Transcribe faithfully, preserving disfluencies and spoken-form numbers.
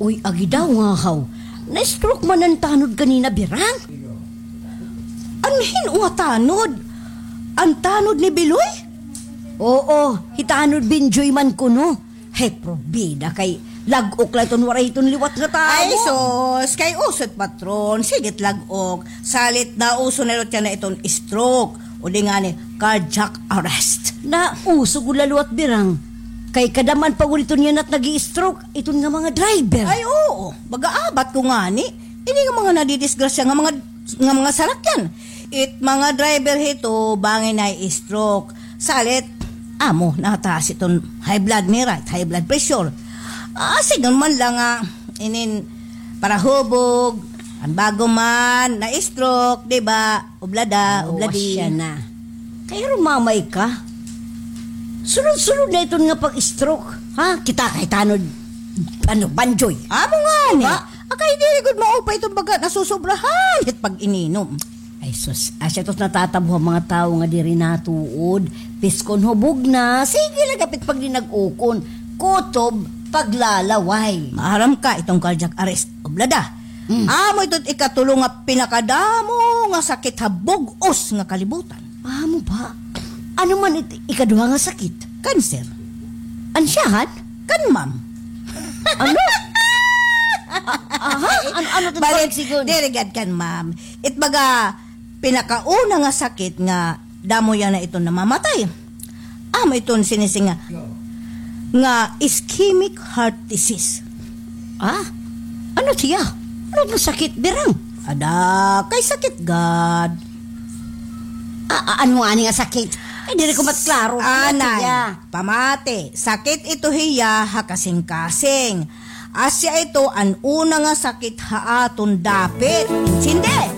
Uy, agi daw nga haw. Na-stroke man an tanod kanina, Birang. An hin-o nga tanod? An tanod ni Biloy? Oo, hi tanod Binjoy man kuno. Hay, probida kay lag-ok la iton waray hiton liwat nga tawo. Ay, sus, kay uso it patron, sige it lag-ok. Salit na uso na liwat yana iton stroke, o di ngani cardiac arrest. Nauso gud la liwat, Birang. Kay kadam-an pa gud iton yana it nag-i-stroke, iton nga mga driver. Ay, oo, baga abat ko ngani. Ini nga mga nadidisgrasya nga mga, nga mga sarakyan. It mga driver hito, bangin na-stroke. Salit, amo, nataas iton high blood nira, high blood pressure. Ah, sidngon man la nga, inin, parahubog, an bago man, na-stroke, di ba? Oblada, obladi. Asya na. Kay rumamay ka. Sunod-sunod na iton nga pag-stroke. Ha? Kita kay tanod, ano, Banjoy. Amo ngani. Diba? Akay diri gud maupay iton baga nasusobrahan hit pag-ininom. Ay sus, asya tos natatabo ha mga tawo nga diri natuod. Piskon hubog na, sige la gapit paglinag-ukon. Kutob, paglalaway. Maaram ka iton cardiac arrest, oblada. Mm. Amo ito it ikatulo nga pinakadamo nga sakit ha bug-os nga kalibutan. Amo ba? Ano man it ikaduha nga sakit? Cancer. Ansyahan? Kan ma'am. Ano? A-, aha? An-, ano it balik sigon? Diri gad kan ma'am. It baga, pinakauna nga sakit nga damo yana iton namamatay. Amo iton sinisiring nga, nga ischemic heart disease. Ah? Ano siya? Ano nga sakit, Birang? Ada, kay sakit gad. A-, a-, ano ngani nga sakit? Ay, diri ko matklaro. Ano siya? Anay, pamati, sakit ito hiya ha kasingkasing. Asya ito an una nga sakit ha aton dapit. Intindi?